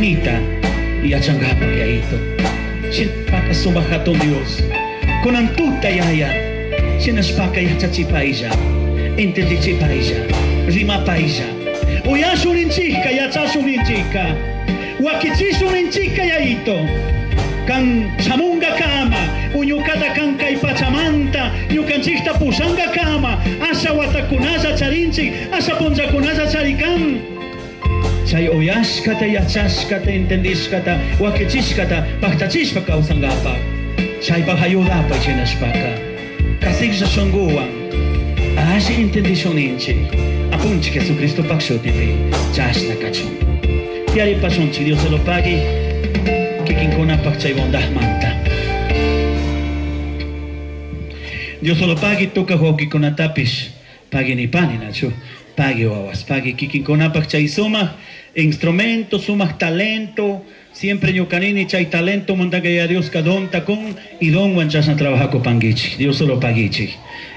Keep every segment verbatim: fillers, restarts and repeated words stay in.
shimita yachankapak, Yayito. Shinashpaka sumak hatun Dios. Kunan tuta, Yaya. Shinashpaka yachachipaylla. Entendichipaylla. Rimapaylla. Uyashun ninchikka, yachashun ninchikka. Wakichishun ninchikka, Yayito. Kan shamunga kama, uñukata kan kay pachamanta, ñukanchikta pushanga kama, asha watakunalla charinchik, asha punllakunalla charikan. Chay uyashkata, yachashkata, entendishkata, wakichishkata, paktachishpa kawsankapak. Chaypak ayudapay shinashpaka. Kasiklla shunkuwan, alli entendishun ninchik. Apunchik Jesucristo pak shutipi, chashna kachun. Tiyaripashunchik, Dios se lo pague. Kikinkunapak chay bondadmanta. Dios solo pagui tuka wawqikunatapish pagui nipani nachu pagui wawas pagui kikinkunapak chay sumaq instrumento, sumaq talento. Siempre ñukanini chay talento mandaka ya Dios ka donta kun y donwan chashna trabajakupankichik. Dios solo paguichik.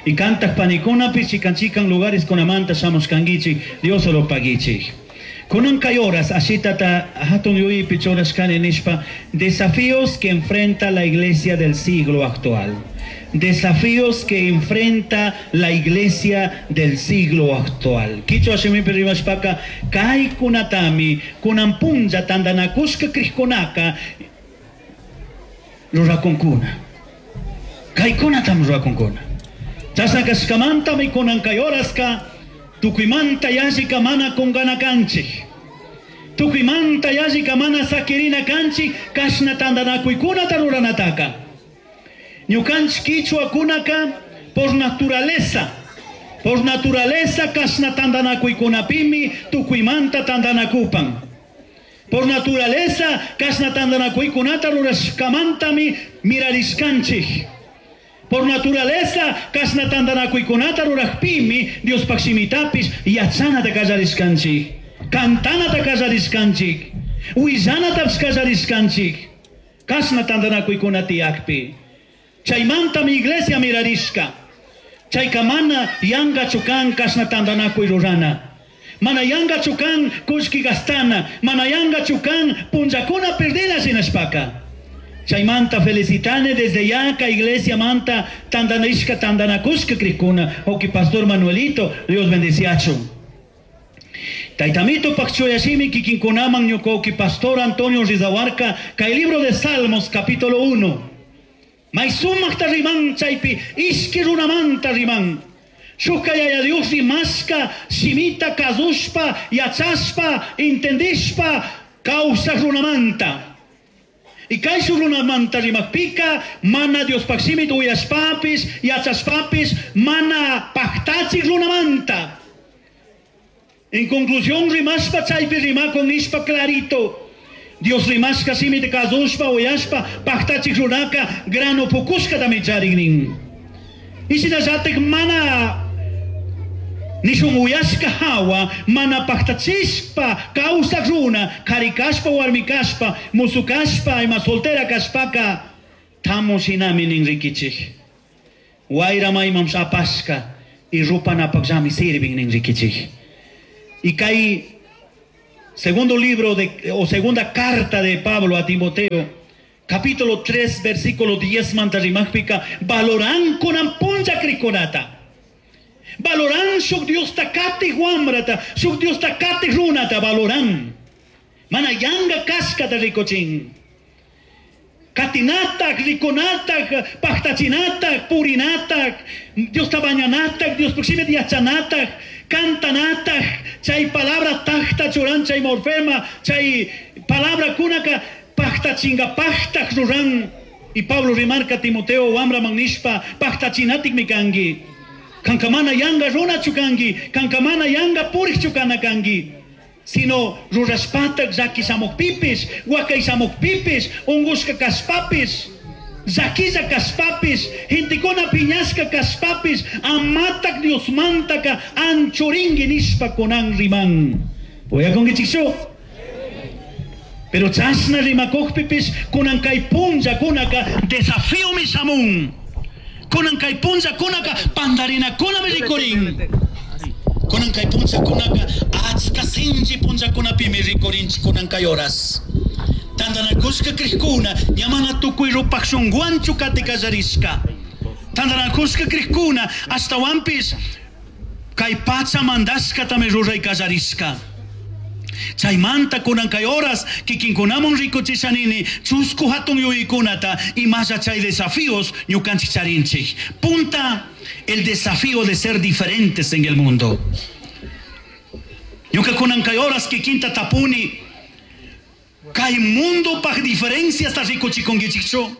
Y cantas panikunapish chikan chikan lugares kunamanta shamushkankichik. Dios solo paguichik. Kunan kay horas, ashitata hatun yuyaypi churashkani nishpa, desafíos que enfrenta la iglesia del siglo actual. Desafíos que enfrenta la iglesia del siglo actual. Kichwa shimipi rimashpaka, kay kunatami, kunan punlla tandanakushka krishkunaka, rurakunkuna. Kay kunatam rurakunkuna. Chashna kashkamantami kunan kay horaska, tukuymanta yallika mana kungana kanchik. Tukuymanta yallika mana sakirina kanchik, kashna tandanakuykunata ruranataka. Ñukanchik kichwakunaka por naturaleza, por naturaleza kashna tandanakuykunapimi tukuymanta tandanakupan. Por naturaleza kashna tandanakuykunata rurashkamantami mirarishkanchik. Por naturaleza, kashna tandanakuykunata rurajpimi, Diospaj shimitapis yachanata kallarishkanchik, kantanata kallarishkanchik, willanatapish kallarishkanchik, kashna tandanakuykuna tiyakpi. Chaymantami iglesia mirarishka. Chayka mana yankachu kan kashna tandanakuy rurana. Mana yankachu kan kullki gastana, mana yankachu kan punllakuna perdina shinashpaka. Chaymanta felicitane desde ya ka iglesia manta tandanishka tandanakushka krikuna. Oki pastor Manuelito, Dios bendeciacho. Taitamito pakchoyashimi kikinkunaman ñuka pastor Antonio Rizahuarca, kay libro de Salmos capítulo uno. Maisumakta riman chaypi, ishki runamanta riman. Shukka yaya Dios rimashka, shimita kazushpa, yachashpa, entendishpa, kawsaj runamanta. Y kayshu runamanta rimakpika, mana Dios pakshimit uyashpapis, yachashpapis, mana paktachik runamanta. En conclusión, rimashpa chaypi rimakon nishpa clarito. Dios rimashka shimit kazushpa, uyashpa, paktachik runaka, grano pukushka tamicharik. Y shinallatik mana nishun uyashka hawa, mana paktachishpa, kawsak runa, kari kashpa, warmi kashpa, musu kashpa, ima soltera kashpaka, tamu shinami nin rikichik. Wayra maymam apashka, y rupanapakllami sirvin nin rikichik. Y kay segundo libro de, o segunda carta de Pablo a Timoteo, capítulo tres, versículo diez, manta rimajpika, valoran kunan punlla krikunata. Valoran shuk Dios takati wamrata, shuk Dios takati runata, valoran. Mana yanga kashkata rikochin. Katinatak, rikunatak, paktachinatak, purinatak, Dios tabañanatak, Dios proxime yachanatak, cantanatak, chay palabra takta churan, chay morfema, chay palabra kunaka, paktachinga paktak ruran. Y Pablo remarca a Timoteo, wamra magnishpa, paktachinatik mikangi. Kankamana yanga runa chukangi, kankamana yanga purich chukana kangi. Sino rurashpatak llaki shamukpipis, wakay shamukpipis, ungushka kashpapis, llakilla kashpapis, gentekuna piñashka kashpapis, amatak Diosmantaka anchuringi nishpa kunan riman. Uyakunkichikchu? Pero chashna rimakukpipis, kunan kay punlla kunaka desafío mi shamun. Kunan kay punlla kunaka pandarina kunami rikurin. Kunan kay punchakunaka achka sinchi punchakunapimi rikurinchik kunan kay horas. Tantanakushka krikuna ña mana tukuy rupaj shunguwanchu kati kallarishka. Tantanakushka krikuna ashtawanpish kay pacha mandashkatami ruray kallarishka. Chaymanta kunan kay horas kikinkunaman rikuchishanini chusku hatun yuyaykunata imalla chay desafíos ñukanchik charinchik. Punta, el desafío de ser diferentes en el mundo. Ñuka kunan kay horas kikinta tapuni kay mundo paj diferencias rikuchikunkichikchu.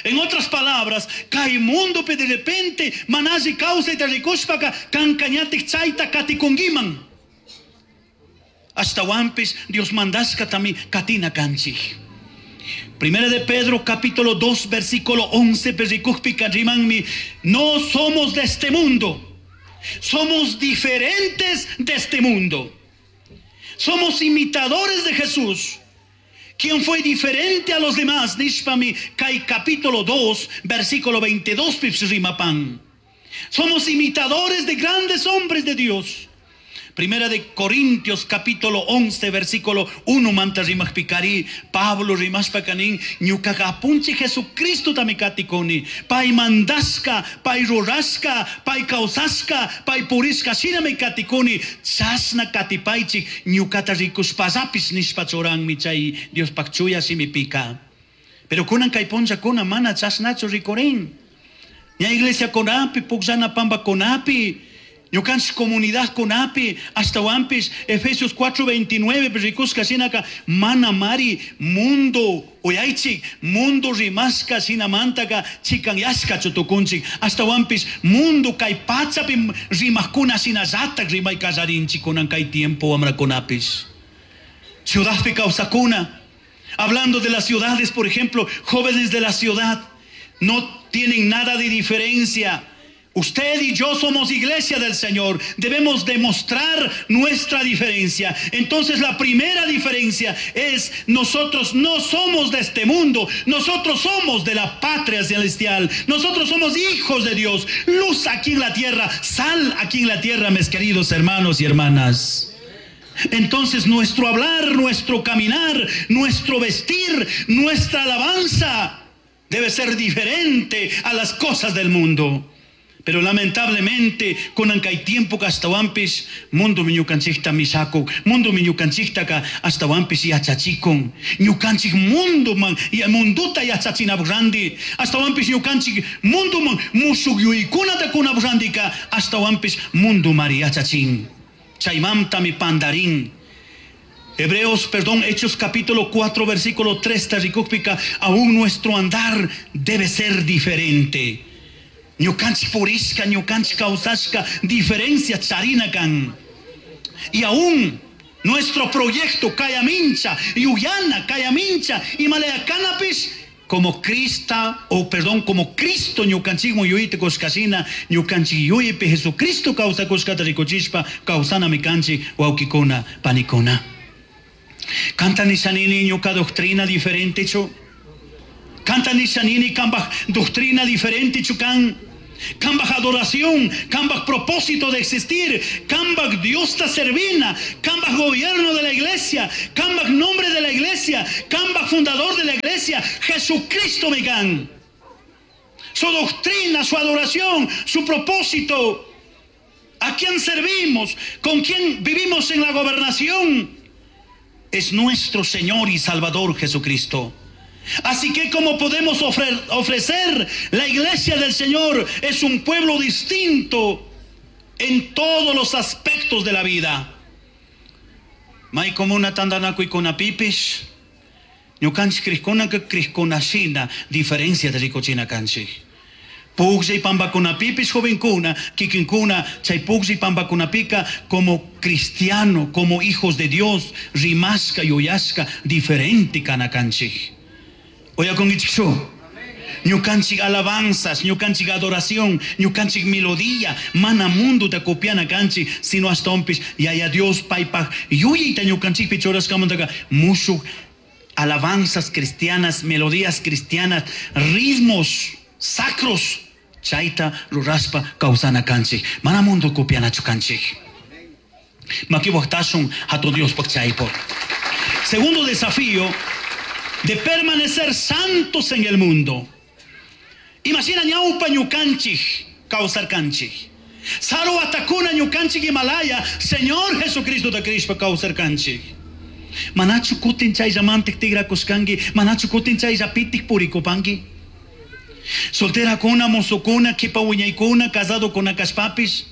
En otras palabras, kay mundo pe de repente mana alli kawsayta rikushpaka kankañatik chayta katikunkiman. Ashtawanpish Dios mandashkatami katina kanchik. Primera de Pedro capítulo dos versículo once perikujpika rimanmi, no somos de este mundo, somos diferentes de este mundo. Somos imitadores de Jesús, quien fue diferente a los demás. Nishpami kay capítulo dos versículo veintidós rimapan. Somos imitadores de grandes hombres de Dios. Primera de Corintios capítulo once versículo uno manta rimajpikari Pablo rimashpakanin ñukaqa apunchik Jesucristo tamikatikuni pay mandashka pay rurashka pay kawsashka pay purishka shinami katikuni chashna katipaychik ñukata rikushpallapish nishpa churanmi chay Diospaj chuya shimipika. Pero kunan kay punllakuna mana chashnachu rikurin. Ña iglesia kunapi pukllana pampa kunapi ñukanchik comunidad kunapi ashtawanpish Efesios cuatro veintinueve rikushka shinaka mana mari mundo uyaychik mundo rimashka shinamantaka chikanyashkachu tukunchik ashtawanpish mundo kay pachapi rimajkuna shinallatak rimay kallarinchik kunan kay tiempo wamrakunapish. Ciudadpi kawsakuna, hablando de las ciudades, por ejemplo, jóvenes de la ciudad no tienen nada de diferencia. Usted y yo somos iglesia del Señor. Debemos demostrar nuestra diferencia. Entonces la primera diferencia es: nosotros no somos de este mundo. Nosotros somos de la patria celestial. Nosotros somos hijos de Dios. Luz aquí en la tierra, sal aquí en la tierra, mis queridos hermanos y hermanas. Entonces nuestro hablar, nuestro caminar, nuestro vestir, nuestra alabanza debe ser diferente a las cosas del mundo. Pero lamentablemente, kunan kay tiempo ka ashtawanpish mundo ñukanchikta mishakun, mundo ñukanchiktaka ashtawanpish yachachikun. Ñukanchik mundo man, y munduta yachachinapuk randi, ashtawanpish ñukanchik mundo man mushuk yuyaykunata kunapuk randika ashtawanpish mundo mari yachachin. Chaymantami pandarin. Hebreos, perdón, Hechos capítulo cuatro, versículo tres, tarikukpika, aún nuestro andar debe ser diferente. Ñukanchik purishka, ñukanchik kawsashka, diferencia charina kan. Y aún nuestro proyecto Cayamincha, Yuyana, Cayamincha, y Maleacanapis, como Crista, o perdón, como Cristo ñukanchikmu yuyayta kushkashina, ñukanchik yuyaypi Jesucristo kawsakushkata rikuchishpa, kawsanami kanchik wawkikuna, panikuna. Kanta nishanini ñuka doctrina diferente chu. Kanta nishanini kambaj doctrina diferente chukan. Kambaj adoración, kambaj propósito de existir, kambaj Dios ta servina, kambaj gobierno de la iglesia, kambaj nombre de la iglesia, kambaj fundador de la iglesia, Jesucristo megan. Su doctrina, su adoración, su propósito. ¿A quién servimos? ¿Con quién vivimos en la gobernación? Es nuestro Señor y Salvador Jesucristo. Así que como podemos ofre-, ofrecer, la iglesia del Señor es un pueblo distinto en todos los aspectos de la vida. May comuna tandanakuy kunapipish, ñukanchik krikkunaka krikkunashina diferencia de rikuchina kanchik. Pugllay pambakunapipish jovenkuna, kikinkuna, chay pugllay pambakunapika como cristiano, como hijos de Dios, rimashka, yuyashka, diferente kana kanchik. Oyakunkichikchu. Ñukanchik alabanzas, ñukanchik adoración, ñukanchik melodía, mana mundo ta copiana kanchik, sino hasta ompis, yaya Dios paypaj yuyayta ñukanchikpi churashkamantaka mushuj alabanzas cristianas, melodías cristianas, ritmos sacros, chayta rurashpa kawsana kanchik, mana mundo copianachu kanchik. Makiwaqtasun hatun Dios chaypo. Segundo desafío de permanecer santos en el mundo. Imagina ñawpa ñukanchik kawsarkanchik. Saru watakuna ñukanchik Himalaya, Señor Jesucristo da Cristo kawsarkanchik. Manachu kutin chayllamantik tigrakushkanki, manachu kutin chayllapitik purikupanki. Solterakuna, mozokuna, kipa wiñaykuna, casadokuna kashpapis.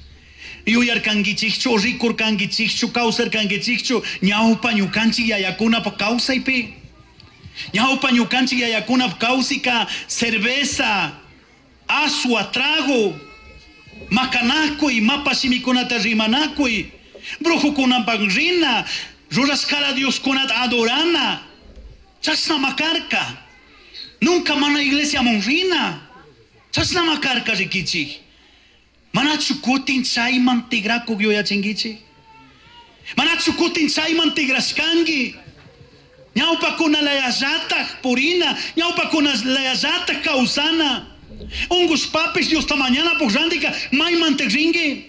Yuyarkankichikchu, rikurkankichikchu, kawsarkankichikchu, ñawpa ñukanchik yayakunapa kawsaypi. Ñawpa ñukanchik yayakunapa kawsika cerveza, asua, trago, makanakuy, mapa shimikunata rimanakuy, brujukunapak rina, rurashkara Dioskunata adorana, chashna makarka. Nunca mana iglesia rina, chashna makarka rikichik. Manachu kutin chayman tigrakuq yuyachinkichik. Manachu kutin chayman tigrashkanki. Ñawpakuna layallataj purina, ñawpakuna layallataj kawsana. Ungushpapis Diosta mañana rantika mayman rinki.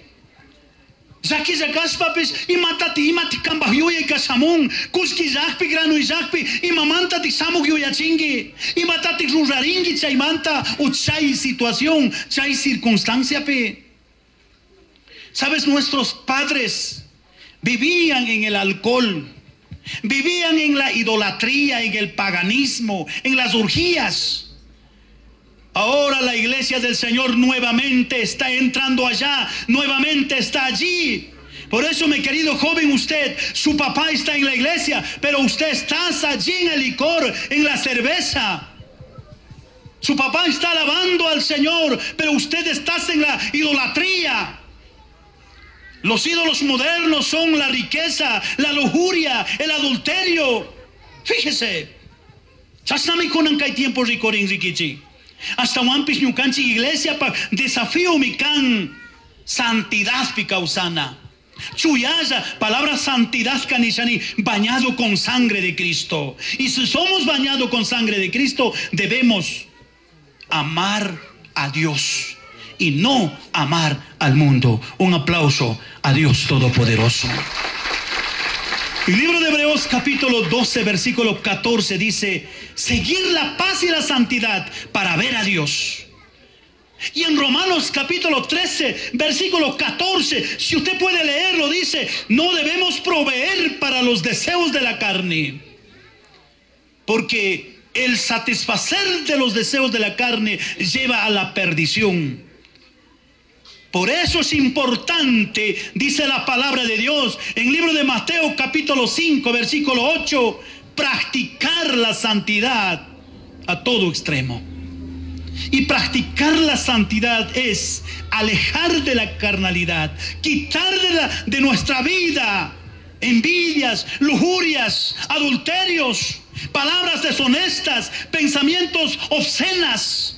Llakilla kashpapis imatati imati kanpaj yuyay kashamun, kullki llakpi grano llakpi imamantatik shamuq yuyachinki, imatatik rurarinki chaymanta o chay situación, chay circunstanciapi. Sabes, nuestros padres vivían en el alcohol, vivían en la idolatría, en el paganismo, en las orgías. Ahora la iglesia del Señor nuevamente está entrando allá, nuevamente está allí. Por eso, mi querido joven, usted, su papá está en la iglesia, pero usted está allí en el licor, en la cerveza. Su papá está alabando al Señor, pero usted está en la idolatría. Los ídolos modernos son la riqueza, la lujuria, el adulterio. Fíjese, chashnami kunan kay tiempo rikurin rikichi. Ashtahuanpish ñukanchik iglesia pa desafío mi kan santidad pi kawsana. Chuyalla, palabra santidad kanishani, bañado con sangre de Cristo. Y si somos bañados con sangre de Cristo, debemos amar a Dios y no amar al mundo. Un aplauso a Dios Todopoderoso. El libro de Hebreos capítulo doce, versículo catorce dice: seguir la paz y la santidad para ver a Dios. Y en Romanos capítulo trece, versículo catorce, si usted puede leerlo, dice: no debemos proveer para los deseos de la carne, porque el satisfacer de los deseos de la carne lleva a la perdición. Por eso es importante, dice la palabra de Dios, en el libro de Mateo capítulo cinco, versículo ocho, practicar la santidad a todo extremo. Y practicar la santidad es alejar de la carnalidad, quitar de, la, de nuestra vida envidias, lujurias, adulterios, palabras deshonestas, pensamientos obscenas.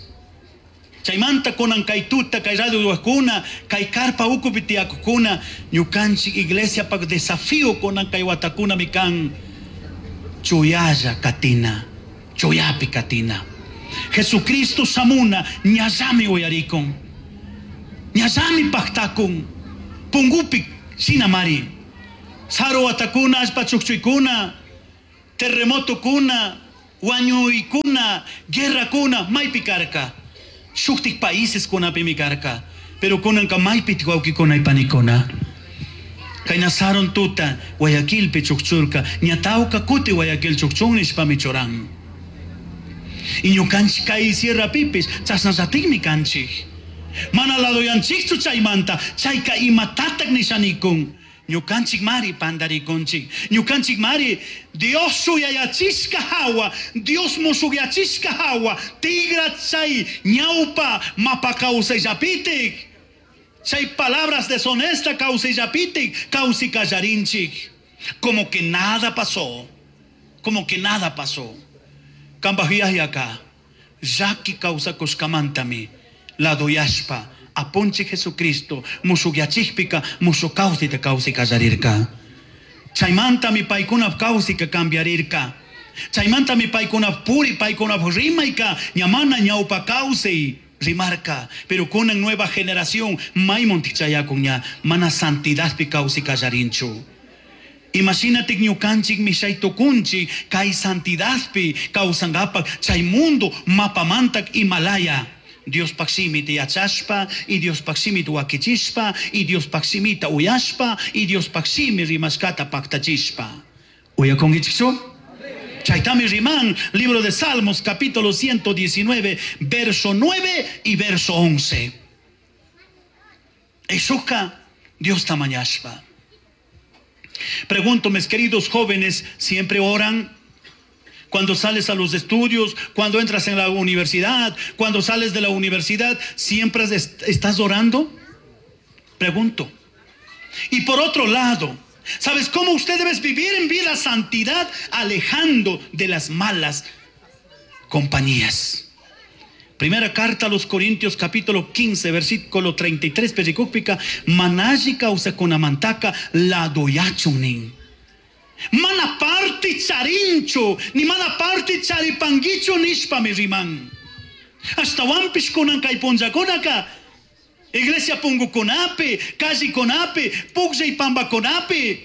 Chaymanta kunan kay tuta, kay radio duakuna, kay karpa ukupi tiyakukuna, ñukanchik iglesia pak desafío kunan kay watakuna mikan chuyalla katina, chuyapi katina. Jesucristo samuna ñallami uyarikun, ñallami paktakun, pungupi sinamari, saru watakuna, allpa chukchuykuna, terremoto kuna, wañuykuna, guerra kuna, maypi karka. Shuktik países kunapimi karka, pero kunanka maypi wawkikuna y panikuna. Kay nasaron tuta Guayaquilpi chukchurka, ñatawka kuti Guayaquil chukchun nishpami churan. Y ñukanchik kay sierra pipis chashnallatikmi kanchik. Mana ladoyanchikchu chaymanta, chayka imatatak nishanikun. Ñukanchik mari pandarikunchik. Ñukanchik mari Dios shuyayachishka hawa, Dios mushuyachishka hawa, tigra chay ñawpa mapa kawsayllapitik. Chay palabras deshonesta kawsayllapitik, kawsikallarinchik. Como que nada pasó, como que nada pasó. Kambajiyayaka, llaki kawsakushkamantami, ladoyashpa, apunchik Jesucristo, mushuyachikpika, mushukawsita kawsikallarirka. Chaymantami paykunap kawsika cambiarirka. Chaymantami paykunap puri, paykunap rimayka, ñamana ñawpa kawsay Rimarka, pero kunan nueva generación mayman tikchayakunña mana santidadpi kawsay kallarinchu. Imagínate ñukanchik mishay tukunchik kay santidadpi kawsankapak chay mundo mapamantak Himalaya. Diospaj shimita yachashpa y Diospaj shimita wakichishpa y Diospaj shimita uyashpa y Diospaj shimi rimashkata paktachishpa. Uyakunkichikchu? Chaytami riman, libro de Salmos, capítulo ciento diecinueve, verso nueve y verso once. Eshuka Dios tamañashpa. Pregunto, mis queridos jóvenes, ¿siempre oran? Cuando sales a los estudios, cuando entras en la universidad, cuando sales de la universidad, ¿siempre est-, estás orando? Pregunto. Y por otro lado, ¿sabes cómo usted debe vivir en vida santidad? Alejando de las malas compañías. Primera carta a los Corintios, capítulo quince, versículo treinta y tres, pericúpica, manashi causa con amantaca, la doyachunin. Mana parte charincho, ni mana parte charipanguicho nishpa mi riman. Hasta wampish kunan kay punllakunaka, iglesia pungukunapi, calle kunapi, pugllay pambakunapi.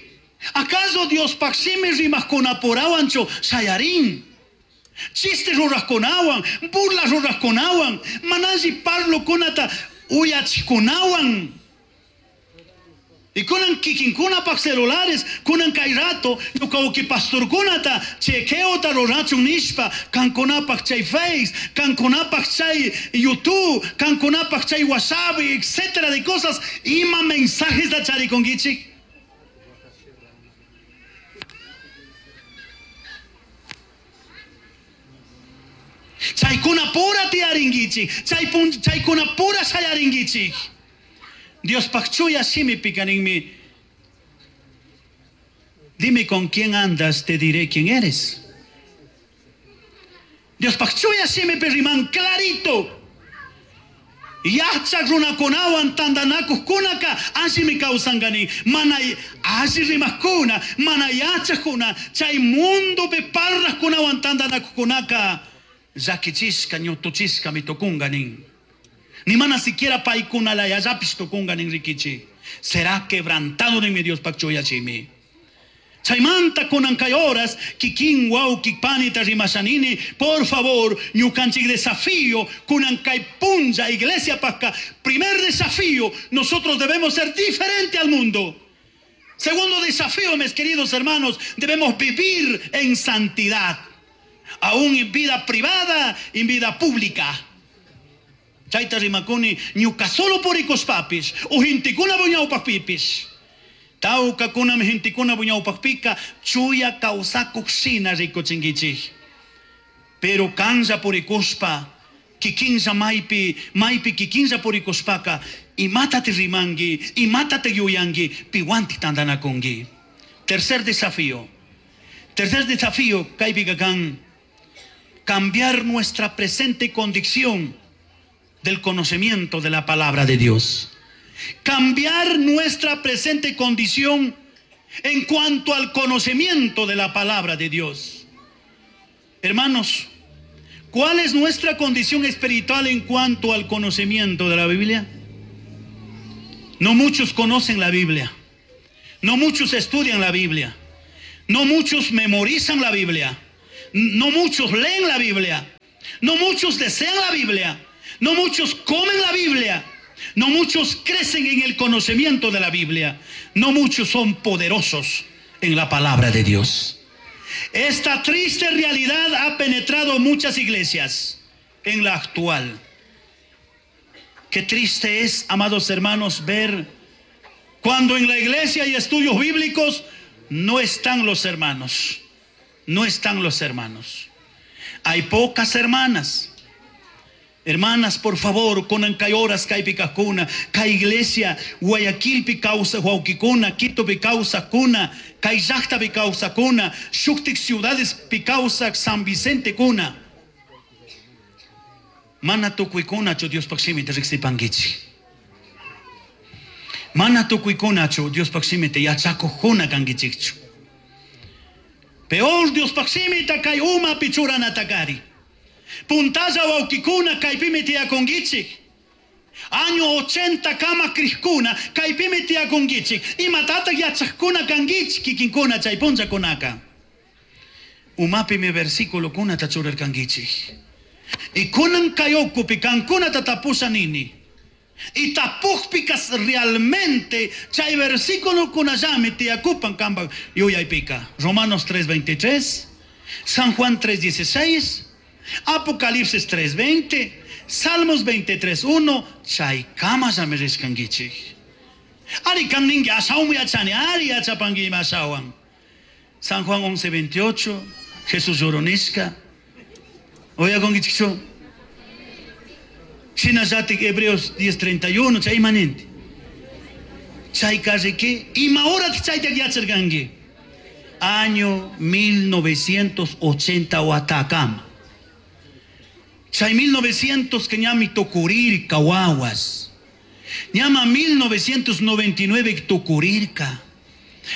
¿Acaso Dios paximi rimajkunapurawancho shayarin? Chiste rurajkunawan, burla rurajkunawan, manashi parlo kunata uyachikunawan. Y kunan kikinkunapaj celulares, kunan kay rato, ñuka pastorkunata, chequeota rurachun nishpa, kankunapaj chay Face, kankunapaj chay YouTube, kankunapaj chay WhatsApp, etcétera de cosas, ima mensajes da charikongichik. Chaykuna pura tiaringichik, chaypun, chaykuna pura shayaringichik. Dios pakchuya shimi pikaninmi. Dime con quién andas, te diré quién eres. Dios pakchuya shimi perriman clarito. Yachak runakunawan tandanakuqkunaka allimi kawsankani. Mana alli rimaqkuna, mana yachaqkuna, chay mundopi parlaqkunawan tandanakuqkunaka llakichishka, ñutuchishka mitukunka nin. Ni mana siquiera paykunalayallapis tukunka nin rikichi. Será quebrantado nin mi Dios pakchuyachimi. Chaymanta kunan kay horas, kikin wawki panita rimashanini, por favor, ñukanchik desafío, kunan kay punlla, iglesia pasca, primer desafío, nosotros debemos ser diferente al mundo. Segundo desafío, mis queridos hermanos, debemos vivir en santidad, aún en vida privada, en vida pública. Chayta rimakuni, ñuka solo purikushpapis, ujintikuna buñawpajpipis. Tawka kunami hintikuna buñawpajpika, chuya kawsakuq shina rikuchinkichik. Pero kanlla purikushpa, kikinlla maypi, maypi kikinlla purikushpaka, imatate rimanki, imatate yuyanki, piwanti tantanakunki. Tercer desafío. Tercer desafío, kaypika kan, cambiar nuestra presente condición del conocimiento de la palabra de Dios. Cambiar nuestra presente condición en cuanto al conocimiento de la palabra de Dios. Hermanos, ¿cuál es nuestra condición espiritual en cuanto al conocimiento de la Biblia? No muchos conocen la Biblia. No muchos estudian la Biblia. No muchos memorizan la Biblia. No muchos leen la Biblia. No muchos desean la Biblia. No muchos comen la Biblia. No muchos crecen en el conocimiento de la Biblia. No muchos son poderosos en la palabra de Dios. Esta triste realidad ha penetrado muchas iglesias en la actual. Qué triste es, amados hermanos, ver cuando en la iglesia hay estudios bíblicos, no están los hermanos. No están los hermanos. Hay pocas hermanas. Hermanas, por favor, kunan kay horas kaypi kajkuna, kay iglesia, Guayaquilpi kawsaj wawkikuna, Quitopi kawsajkuna, kay llaqtapi kawsajkuna, shuktik ciudadespi kawsaj San Vicente kuna. Mana tukuykunachu Diospaj shimita riqsipankichik. Mana tukuykunachu Diospaj shimita yachakujkuna kankichikchu. Peor Diospaj shimita kay umapi churanatakari. Puntalla wawkikuna kaypimi tiyakunkichik. Año ochenta kama krishkuna kaypimi tiyakunkichik. Imatataq yachaqkuna kankichik kikinkuna chay punllakunaka. Umapimi versículokunata churarkankichik. Y kunan kay ukupi kankunata tapusha nini. Y tapujpikas realmente chay versículo kunallami tiyakupan kanpak yuyaypika. Romanos tres veintitrés, San Juan tres dieciséis, Apocalipsis tres veinte, Salmos veintitrés uno, chay kamallami rishkankichik. Ari kan ninki ashawan yachani, ari yachapanki ima ashawan. San Juan once veintiocho, Jesús lloronishka. Oyakunkichikchu? Shinallatik Hebreos diez treinta y uno, chay imaninti. Chay karriki, ima horat chaytak yacharkanki? Año mil novecientos ochenta watakama. Chay mil novecientos que ñami tukurirka wawas. Ñama mil novecientos noventa y nueve tukurirka.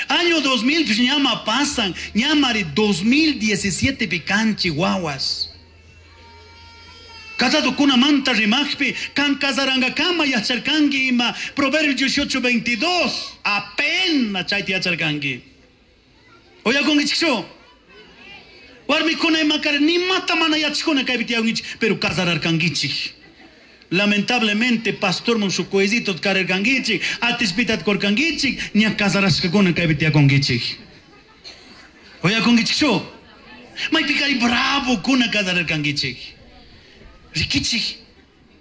Año dos mil pues ñama pasan, ñamari dos mil diecisiete picanchi wawas. Casado kuna manta rimajpi, kan casarangakama yacharkanki ima, Proverbios dieciocho veintidós, apenas chayti yacharkanki. Oyakunkichikchu? Warmikuna imakar ni mata mana yachkuna kaypi tiyakunkichik, pero casararkankichik. Lamentablemente, pastor mon su coesito kararkankichik, atispitat korkankichik, ña casarashkakuna kaypi tiyakunkichik. Oyakunkichikchu? Maypikari bravo kuna casararkankichik. Rikichik,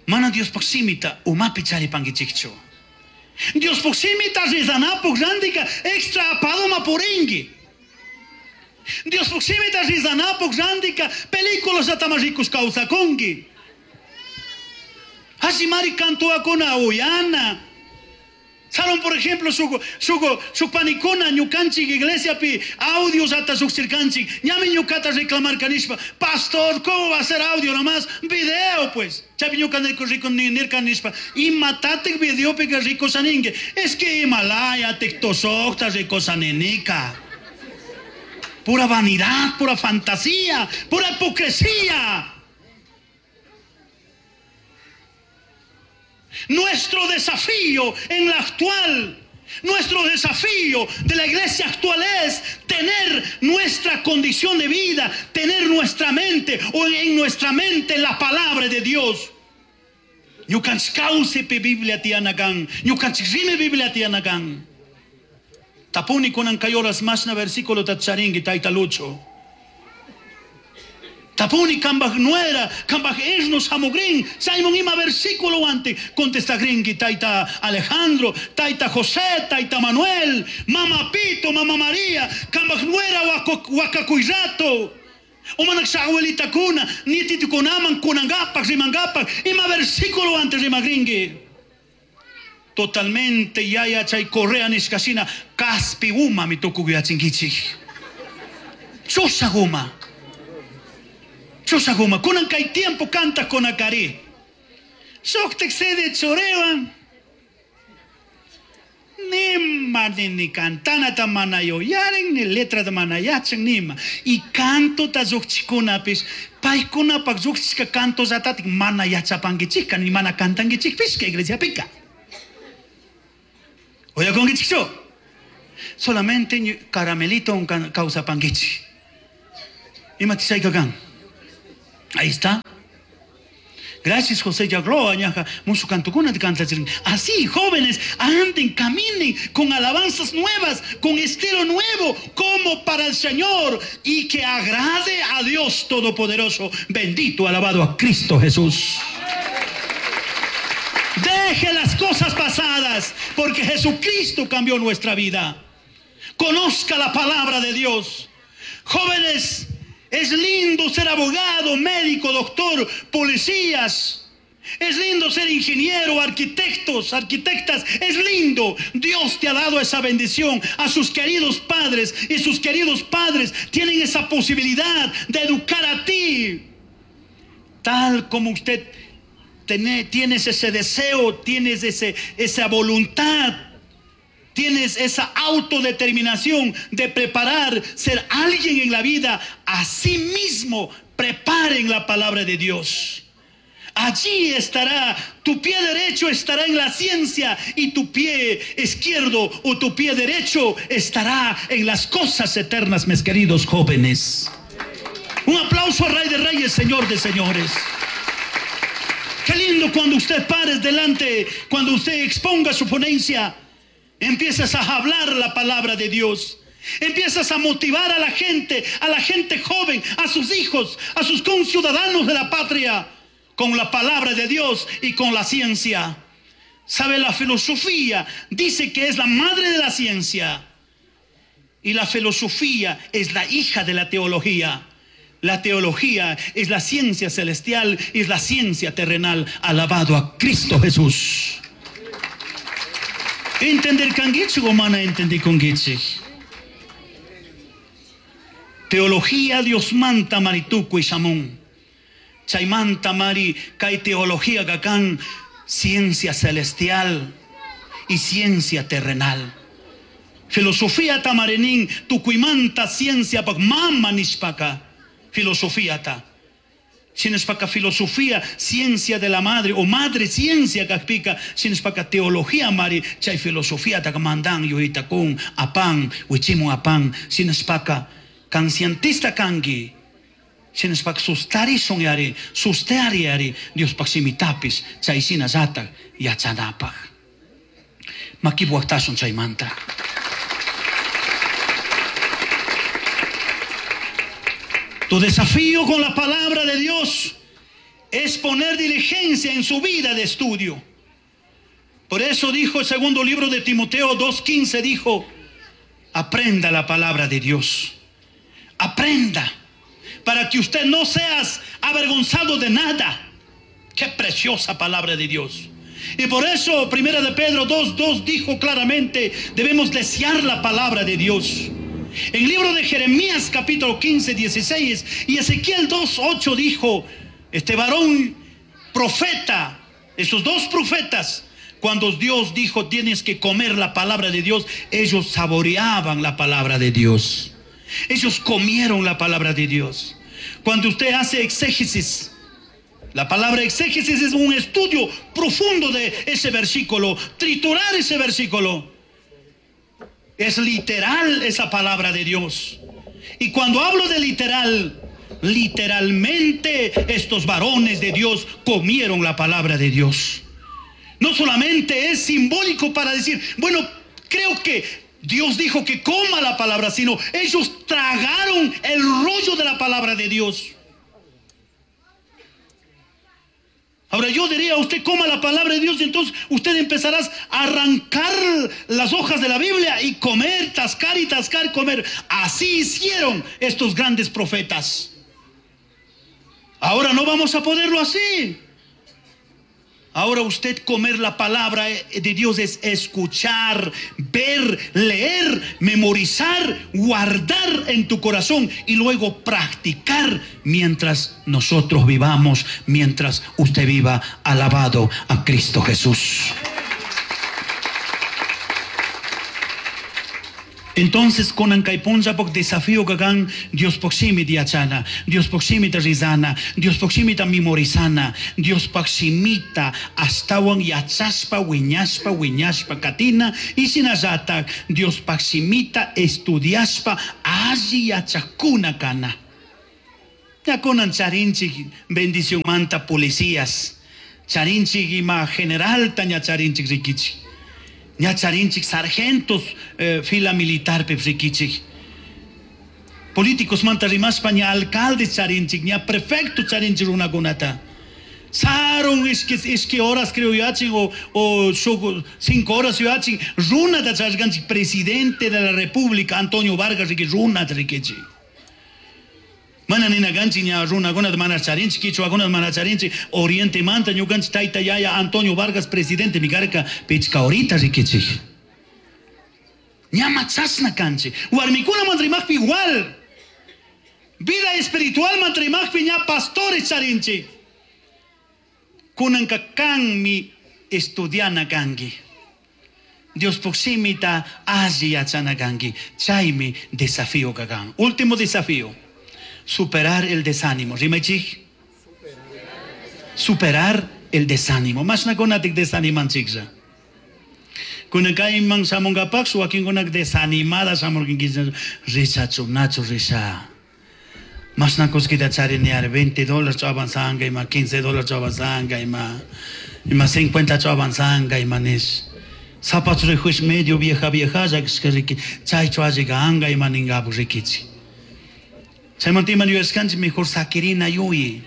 mana Dios simita umapi charipankichikchu. Dios simita rizanapuk randika extra apadoma puringi. Dios simita rizanapuk randika películas atama ricos causakungi. Así mari kantuakuna uyana. Salón, por ejemplo, su, su, su panicuna, ñukanchik, iglesia pi, audios hasta sucirkanchik, ñami ñukata reclamar canishpa, pastor, ¿cómo va a ser audio nomás? Video, pues. Chapi ñuka nirko rico ni nirka nishpa, y matate video pe que rico saningue. Es que Himalaya, tectosocta, rico sanenica. Pura vanidad, pura fantasía, pura hipocresía. Nuestro desafío en la actual, nuestro desafío de la iglesia actual es tener nuestra condición de vida, tener nuestra mente o en nuestra mente la palabra de Dios. Ñukanchik Biblia tianakan, ñukanchik rime Biblia tianakan. Tapuni kunan kay horas masna versículo tatcharingi tayta Lucho. Tapuni kambaj nuera, kambaj esnos hamugrin, Simon ima versículo ante, contesta gringi, taita Alejandro, taita José, taita Manuel, mama Pito, mama María, kambaj nuera wakakuirato, umanak sa abuelita kuna, nietitukunaman, kunangapak, rimangapak, ima versículo ante rimagringi. Totalmente yaya chay correa nishkashina, kaspi uma mi tukuguyachinkichik. Chosa guma. Chosaguma, kunan kay tiempo canta con akari. Soktek sede chorewan. Nima ni ni cantana ta manayo yaren ni letra ta manayachan nima. Y canto ta zukchikunapis, paykunapak zukchika canto zatatik manayachapankichika ni mana cantankichikpis que iglesia pica. Oye, con solamente caramelito un causa panquichi. Ima. Ahí está. Gracias, José Yagloa, ñaja, mucho cantucuna de canta. Así, jóvenes, anden, caminen con alabanzas nuevas, con estilo nuevo, como para el Señor, y que agrade a Dios Todopoderoso. Bendito, alabado a Cristo Jesús. Deje las cosas pasadas, porque Jesucristo cambió nuestra vida. Conozca la palabra de Dios. Jóvenes, es lindo ser abogado, médico, doctor, policías. Es lindo ser ingeniero, arquitectos, arquitectas. Es lindo. Dios te ha dado esa bendición a sus queridos padres. Y sus queridos padres tienen esa posibilidad de educar a ti. Tal como usted tiene, tienes ese deseo, tienes ese, esa voluntad. Tienes esa autodeterminación de preparar, ser alguien en la vida. Así mismo preparen la palabra de Dios. Allí estará, tu pie derecho estará en la ciencia y tu pie izquierdo o tu pie derecho estará en las cosas eternas, mis queridos jóvenes. Un aplauso al Rey de Reyes, Señor de Señores. Qué lindo cuando usted pare delante, cuando usted exponga su ponencia, empiezas a hablar la palabra de Dios. Empiezas a motivar a la gente, a la gente joven, a sus hijos, a sus conciudadanos de la patria, con la palabra de Dios y con la ciencia. ¿Sabe? La filosofía dice que es la madre de la ciencia. Y la filosofía es la hija de la teología. La teología es la ciencia celestial, es la ciencia terrenal. Alabado a Cristo Jesús. Entender kangichi o mana entender kongichi. Teología Dios manta marituco y chamón. Chaymanta mari kai teología gakan ciencia celestial y ciencia terrenal. Filosofía tamarenin tukuimanta ciencia pak mama nishpaka. Filosofía ta. Sinespaka filosofía, ciencia de la madre o madre ciencia kakpika, sinespaka teología mari chay filosofía ta mandan yuita kun apan wichimu apan sinespaka kan cientista kangi. Sinespaka sustarishun yari, susteari yari, Dios pak simitapis, chay sinazata yachanapaj. Makibuaktashun chaymanta. Tu desafío con la palabra de Dios es poner diligencia en su vida de estudio. Por eso dijo el segundo libro de Timoteo dos quince, dijo, aprenda la palabra de Dios. Aprenda, para que usted no seas avergonzado de nada. Qué preciosa palabra de Dios. Y por eso Primera de Pedro dos dos dijo claramente, debemos desear la palabra de Dios. En el libro de Jeremías capítulo quince, dieciséis y Ezequiel dos, ocho dijo, este varón profeta, esos dos profetas, cuando Dios dijo tienes que comer la palabra de Dios, ellos saboreaban la palabra de Dios. Ellos comieron la palabra de Dios. Cuando usted hace exégesis, la palabra exégesis es un estudio profundo de ese versículo, triturar ese versículo. Es literal esa palabra de Dios. Y cuando hablo de literal, literalmente estos varones de Dios comieron la palabra de Dios. No solamente es simbólico para decir, bueno, creo que Dios dijo que coma la palabra, sino ellos tragaron el rollo de la palabra de Dios. Ahora yo diría, usted coma la palabra de Dios y entonces usted empezará a arrancar las hojas de la Biblia y comer, tascar y tascar, comer. Así hicieron estos grandes profetas. Ahora no vamos a poderlo así. Ahora usted comer la palabra de Dios es escuchar, ver, leer, memorizar, guardar en tu corazón y luego practicar mientras nosotros vivamos, mientras usted viva. Alabado a Cristo Jesús. Entonces, con ankaipunza pok desafío kagan Dios proximita yachana, Dios proximita rizana, Dios proximita memorizana, Dios proximita astawan yachaspa, wiñaspa, wiñaspa katina, y sinazata, Dios proximita estudiaspa, alli yachakuna kana. Ya konan charinchik bendición manta policías, charinchik ima general taña charinchik rikichik. Ña charinchik sargentos eh, fila militar pepsikichik. Políticos manta rimaspa ña alcalde charinchik, ña prefecto charinchik runakunata. Sarun iski iski horas creo yachin o o cinco horas yachin runata charganchik presidente de la República Antonio Vargas riki runata rikichik. Mana nina ganchi ña runakunata mana charinchik, quichuakunata mana charinchik, Oriente manta ñukanchik tayta yaya Antonio Vargas presidente mikarka pichka horita rikichik. Ña machasna kanchik. Warmikuna mantrimaqpi igual. Vida espiritual mantrimaqpi ña pastores charinchik. Kunanka kanmi estudiana kanki. Dios shimita alli yachana kanki. Chaymi desafío kakan. Último desafío. Superar el desánimo. Rimaychik. Superar el desánimo. Mashnakunatik desanimanchiklla. Kunan kayman shamunkapaq wakinkunak desanimada shamurkinkichik. Rishachu, nachu risha. Mashna kullkita charini ari veinte dólares avanzanga ima quince dólares avanzanga ima ima cincuenta avanzanga ima nish. Zapato rijush medio vieja vieja ya que chaychu alliga ima ningapu rikichi. Chaymanta ima yuyashkanchik mejor sakirina yuyi.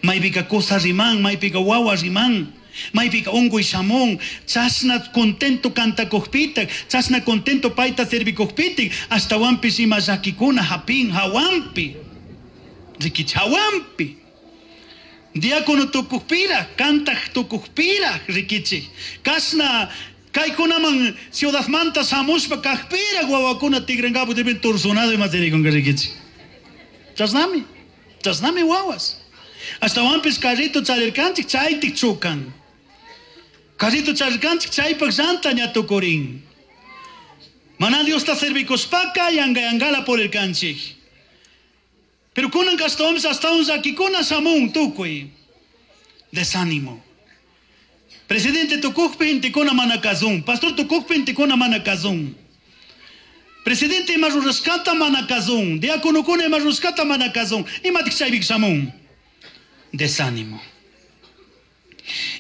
Maypika cosa riman, maypika wawa riman, maypika unkuy shamun, chashna contento cantakujpitak, chashna contento payta servikujpitik, ashtawanpish ima llakikuna hapin hawanpi. Rikichi hawanpi. Diácono tukujpiraj, kantaj tukujpiraj, rikichi. Kashna kaykunaman ciudadmanta shamushpa kajpiraj wawakuna tigrankapu deben torsionado ima zirikunka rikichi. Chashnami, chashnami wawas. Ashtawanpish carrito charirkanchik chaytik chukan. Carrito charirkanchik chaypak llanta ña tukurin. Mana Diosta servikushpaka yanga yangala purirkanchik. Pero kunan ashtawanpish ashtawan llakikuna shamun tukuy. Desánimo. Presidente tukukpi intikuna mana kazun. Pastor tukukpi intikuna mana kazun. Presidente ima rurashkata mana kazun. Diakonokuna ima rurashkata mana kazun. Imatik chaypik shamun. Desánimo.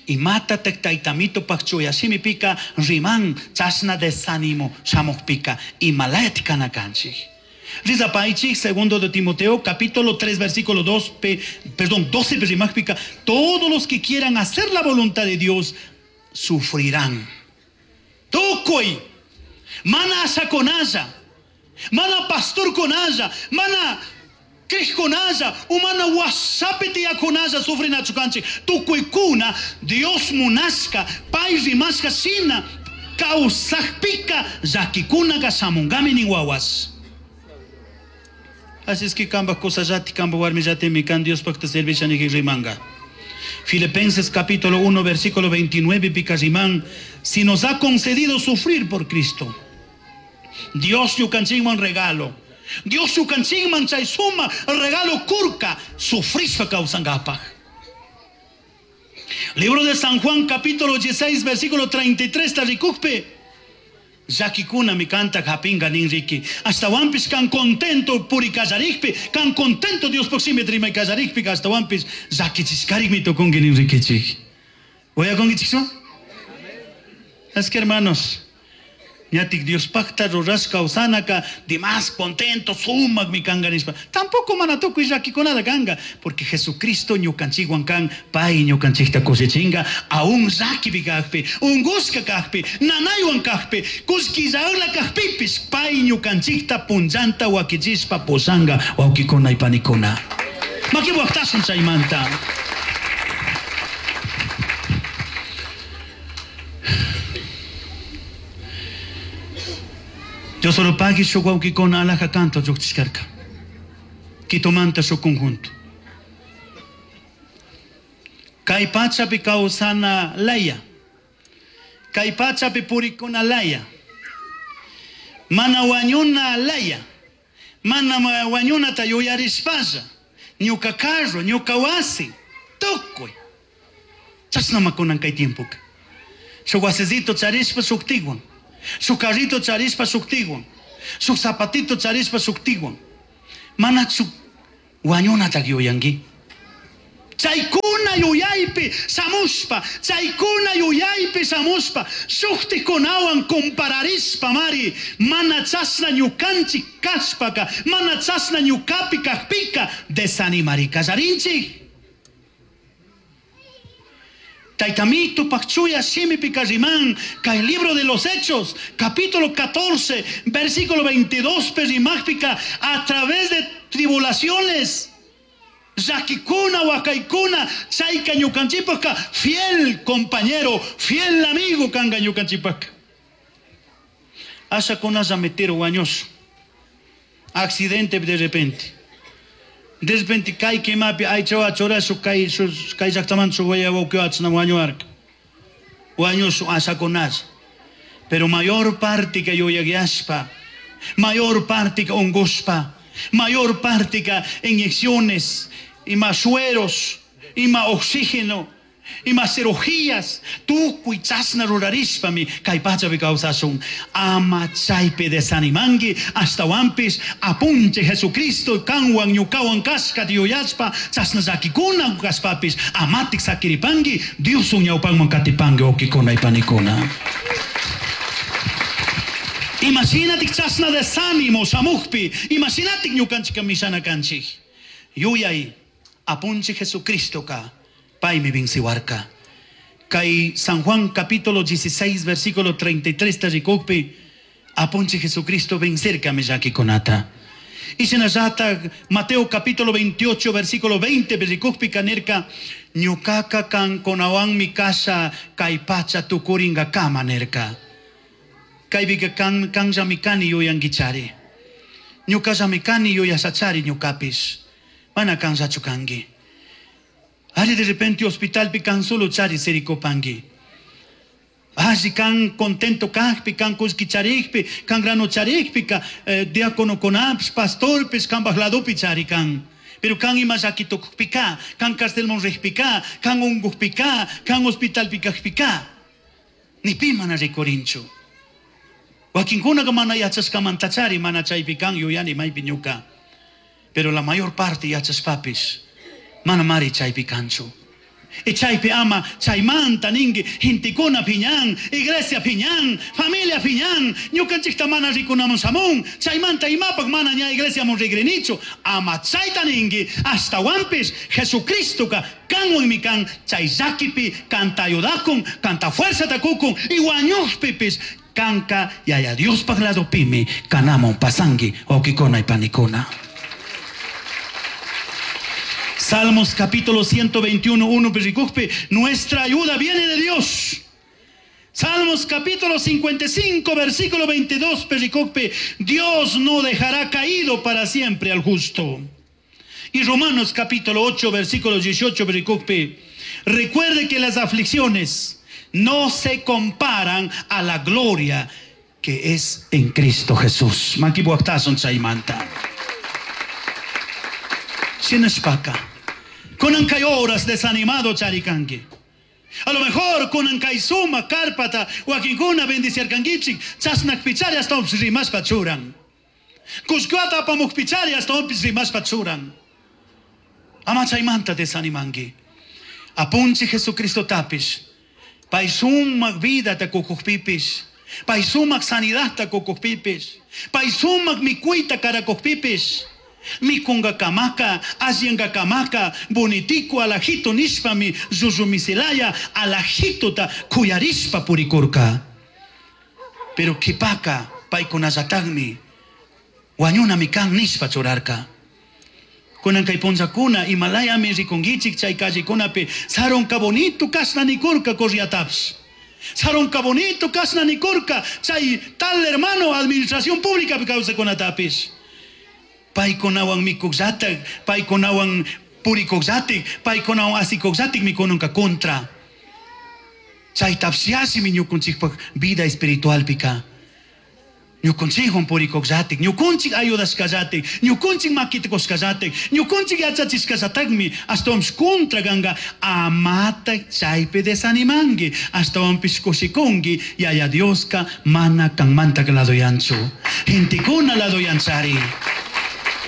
Imatatak taytamito pakchuya shimipika riman chashna desánimo shamukpika imalayat kanakanchik. Rizapaichik, segundo de Timoteo, capítulo tres, versículo dos, pe, perdón, doce, rimajpika, todos los que quieran hacer la voluntad de Dios sufrirán. Tukuy, mana ashakonaya, mana pastor konaya, mana krejkonaya, umana wasapi tiyakonaya sufrinachu kanchik. Tukuykuna Dios munashka, pay rimashka shina kawsakpika llakikunaka shamunkami nin wawas. Así es que kamba kusallati, kamba warmillatimi, kan Dios pakta servisha niki rimanga. Filipenses capítulo uno, versículo veintinueve, pika rimán, si nos ha concedido sufrir por Cristo, Dios ñukanchikman regalo. Dios ñukanchikman chay suma regalo kurka sufrishpa kawsankapaj. Libro de San Juan capítulo dieciséis, versículo treinta y tres, tarikukpe. Llakikuna mi canta japinga nin riki. Hasta wampis kan contento puri kallarikpi, kan contento Dios proxime rimay kallarikpi, hasta wampis llakichishkarik mi tokungi nin rikichik. Voy a congichikso? Es que hermanos, ñatik Dios pacta rurash kawsanaka, dimas contento, sumak mi kanga nispa. Tampoco mana tukuy llakikunada kanga, porque Jesucristo ñukanchikwan kan, pay ñukanchikta kushichinga, aún llakipi kajpi, ungushka kajpi, nanaywan kajpi, kullkillaula kajpipis, pay ñukanchikta punllanta wakichishpa pushanga wawkikuna y panikuna. Makiwaqtasun chaymanta. Dios solo pagui su wawkikuna alaja canto lluqchishkarka. Quitomanta su conjunto. Kay pachapi kawsana laya. Kay pachapi purikuna laya. Mana wañuna laya. Mana wañunata yuyarishpalla. Ñuka carro, ñuka wasi. Tukuy. Chashnama kunan kay tiempoka. Shuk wasicito charishpa shuktiwan. Su carrito charishpa shuktiwan. Su zapatito charishpa shuktiwan. Mana su wañunata yuyanki. Chaykuna yuyaypi shamushpa, chaykuna yuyaypi shamushpa, shuktikunawan compararishpa mari, mana chashna ñukanchik kashpaka, mana chashna ñukapi kajpika, desanimari kallarinchik. Taytamito pakchuya shimipi karimán, kay libro de los Hechos, capítulo catorce, versículo veintidós, perimajpica, a través de tribulaciones, llakikuna, wakaykuna, chayka ñukanchipaka, fiel compañero, fiel amigo kanga ñukanchipaka. Asha kunalla metero wañoso. Accidente de repente. De repente kay kimapi aychawa churasu kay kay llaqtaman su waya wawqiwachna wañuarka. Wañusu asha kunalla. Pero mayor parte ka yuyayashpa, mayor parte ka ungushpa, mayor parte ka inyecciones, ima sueros, ima oxígeno, ima cirugías, tukuy chashna rurarishpami kay pachapi kawsashun. Ama chaypi desanimanki, ashtawanpish apunchik Jesucristo kanwan ñukawan kashkata yuyashpa chashna llakikuna kashpapish amatik sakiripanki, Dioswan ñawpanman katipanki wawkikuna y panikuna. Imaginatik chashna desánimo shamukpi, imaginatik ñukanchik mishana kanchik. Yuyay apunchik Jesucristoka paymi venciwarka. Kay San Juan capítulo dieciséis versículo treinta y tres rikukpi apunchik Jesucristo vencerka llakikunata. Y shinallata Mateo capítulo veintiocho versículo veinte rikukpi kanerka ñukaka kankunawanmi kasha kay pacha tukuringa kama nerka. Kaypika kan kanllami kani yuyankichari. Ñukallami kani yuyashachari ñukapish. Mana kanllachu kanki. Ari de repente hospitalpi kan solo chari sirikupanki. Alli kan contento kajpi, kan kullki charikpi, kan grano charikpi, ka, eh, diáconokunapish, pastorpish, kanpaj ladopi chari kan. Pero kan ima llaki tukukpika, kan carcelman rijpika, kan unkukpika, kan hospitalpi kajpika. Ni pi mana rikurinchu. Wakinkunaka mana yachashkamantachari, mana chaypi kan yuyani maypi ñuka. Pero la mayor parte yachashpapish, mana mari chaypi kanchu. Y chaypi ama chaymanta ninki gentekuna piñan, iglesia piñan, familia piñan, ñukanchikta mana rikunamun shamun, chaymanta imapak mana ña iglesiamun rigrinichu, ama chayta ninki ashtawanpish Jesucristoka kanwanmi kan chay llakipi kanta ayudakun, kanta fuerzata kukun, y wañuqpipis kanka yaya Diospaj ladopimi kanamun pasanki wawkikuna y panikuna. Salmos capítulo ciento veintiuno, uno, pericujpe, nuestra ayuda viene de Dios. Salmos capítulo cincuenta y cinco, versículo veintidós, pericujpe, Dios no dejará caído para siempre al justo. Y Romanos capítulo ocho, versículo dieciocho, pericujpe, recuerde que las aflicciones no se comparan a la gloria que es en Cristo Jesús. Makibuaktason chaymanta. Shinashpaka. Kunan kay horas desanimado charikanki. A lo mejor kunan kay suma karpata wakinkuna bendiciarkankichik chasnak pichari hasta umpis rimashpa churan. Kushkuata apamuk pichari hasta umpis rimashpa churan. Ama chaymanta desanimanki. Apunchi Jesucristo tapish. Pay sumak vida ta kukukpipis. Pay sumak sanidad ta kukukpipis. Pay sumak mikuita karakukpipis. Mikunga kamaka, asienga kamaka, bonitico alajito nishpami, zuzumisilaya, alajito ta kuyarishpa purikurka. Pero kipaka, paykunallataqmi, wañunami kan nishpa churarka. Kunan kay punllakuna, imalayami rikunkichik chay callekunapi, saronka bonito kashna nikurka corriataps. Saronka bonito kashna nikurka, chay tal hermano administración pública kawsakunatapis. Paykunawan mikuqllatak, paykunawan purikuqllatik, paykunawan asikuqllatik mikununka kontra. Chay tapsiasimi ñukunchikpaq vida espiritualpika. Ñukunchikwan purikuqllatik, ñukunchik ayudashkallatik, ñukunchik makitikusqallatik, ñukunchik yachachishkallatakmi ashtawanpis kontra kanka, amata chaypi desanimanki, ashtawanpis kushikunki, Yaya Dioska mana kanmanta ladoyanchu. Gentekuna ladoyanchari.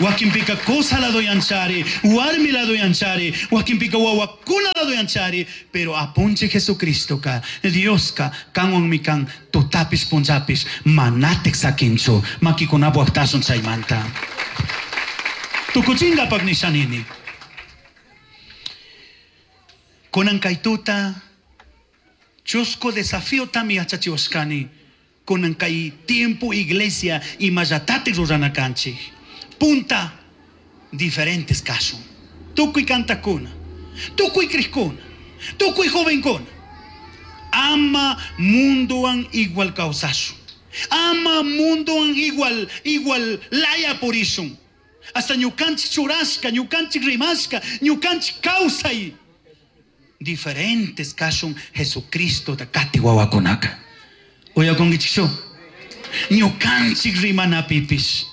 Wakinpika cosa ladoyanchari, warmi ladoyanchari, wakinpika wawakuna ladoyanchari, pero apunche Jesucristo ka, Dioska, kanwanmi kan, tutapis punchapis, manatek sakinchu, makikunapu aktasun chaymanta. Tukuchingapak nishanini. Kunan kay tuta, chusco desafío tami yachachiwashkani, kunan kay tiempo iglesia imallatate rurana kanchik. Punta diferentes casos. Tukuy kantakuna, tukuy kriskuna, tukuy jovenkuna. Ama mundoan igual causasu. Ama mundoan igual, igual laya purishun. Hasta ñukanchik churashka, ñukanchik rimashka, ñukanchik kawsay. Diferentes casos Jesucristo da kati wawakunaka. Uyakunkichikchu? Ñukanchik rimanapipish.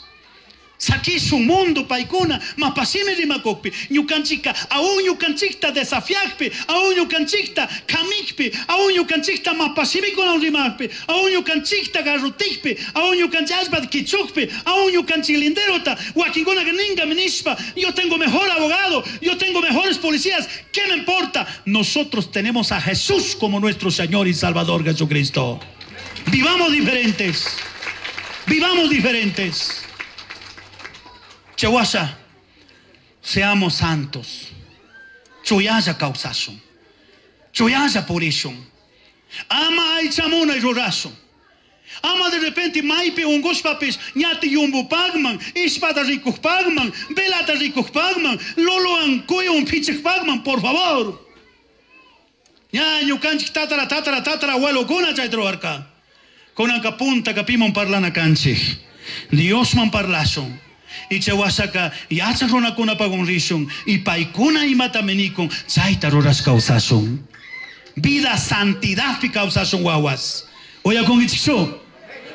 Sakishun mundo paykuna mapashimi rimakukpi ñukanchikka aún ñukanchikta desafiakpi aún ñukanchikta kamikpi aún ñukanchikta mapashimikunawan rimakpi aún ñukanchikta garrutikpi aún ñukanchik allpata kichukpi aún ñukanchik linderota wakinkunaka ninkami nishpa yo tengo mejor abogado, yo tengo mejores policías, ¿qué me importa? Nosotros tenemos a Jesús como nuestro Señor y Salvador Jesucristo. Vivamos diferentes, vivamos diferentes. Chawasha, seamos santos. Chuyalla kawsashun. Chuyalla purishun. Ama aychamunay rurashun. Ama de repente maypi unqushpapis ñati yumbupaqman, ishpata rikuqpaqman, velata rikuqpaqman, lolowan kuyun phichiqpaqman, por favor. Ña ñukanchik tatara tatara tatara abuelokuna chayta ruwarka. Kunanka punta piman parlana kanchik. Diosman parlashun. Y chawashaka yachaq runakunapagun rishun y paykuna imata minikun chayta rurash kawsashun. Vida santidadpi kawsashun wawas. Uyakunkichikchu?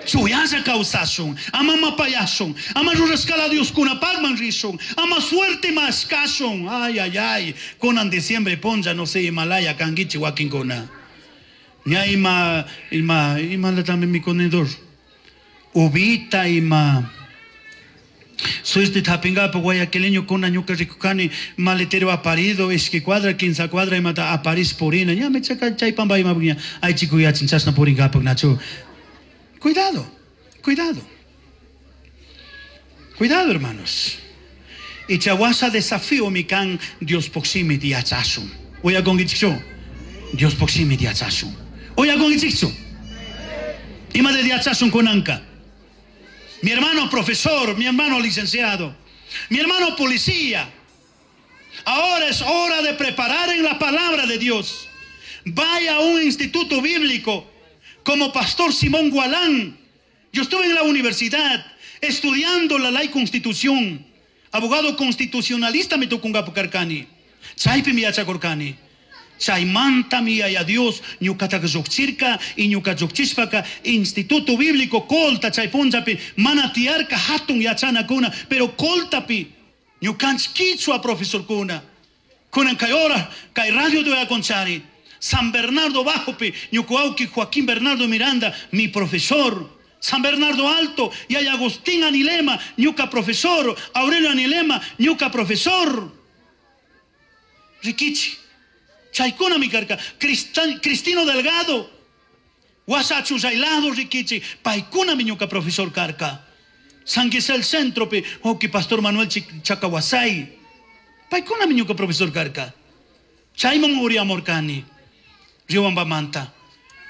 Chuyalla kawsashun, ama mapayashun, ama rurashkala Dioskunapaqman rishun, ama suerte mashkashun. Ay, ay, ay, kunan diciembre punlla no sé Himalaya kankichik wakinkuna. Ña ima, ima, ima también mi conedor. Uvita ima. Suerte tapingapa guayaquileño kuna ñuka rikukani maletero aparido ishki cuadra quince cuadra imata aparis purina ña me chaka chay pamba ima ña ay chico ya chinchasna puringapa nacho. Cuidado, cuidado. Cuidado, hermanos. Y chawasa desafío mi kan Dios poximi diachashun. Uyakunkichikchu? Dios poximi diachashun. Uyakunkichikchu? Ima de diachashun kunanka. Mi hermano profesor, mi hermano licenciado, mi hermano policía. Ahora es hora de preparar en la palabra de Dios. Vaya a un instituto bíblico como pastor Simón Gualán. Yo estuve en la universidad estudiando la ley constitución. Abogado constitucionalista me tocó un gapucarcani. Chaypi mi yachakurkani. Chaymanta mi yaya Dios ñuqataka lluqchirka y ñuqa lluqchishpaka instituto bíblico colta chay punllapi mana tiyarka hatun yachanakuna pero coltapi ñukanchik kichwa profesorkuna kunan kay hora kay radio de Aconchari San Bernardo Bajopi ñuqa wawqi Joaquín Bernardo Miranda mi profesor San Bernardo Alto y hay Agustín Anilema ñuka profesor Aurelio Anilema ñuka profesor Rikichi Chaykuna mi karka, Cristino Delgado, Wasachu Zailado Rikichi, paykuna mi ñuka profesor karka. San Gisel Centro, oki Pastor Manuel Chacahuasay, paykuna mi ñuka profesor karka. Chayman uriamorkani, Riobambamanta,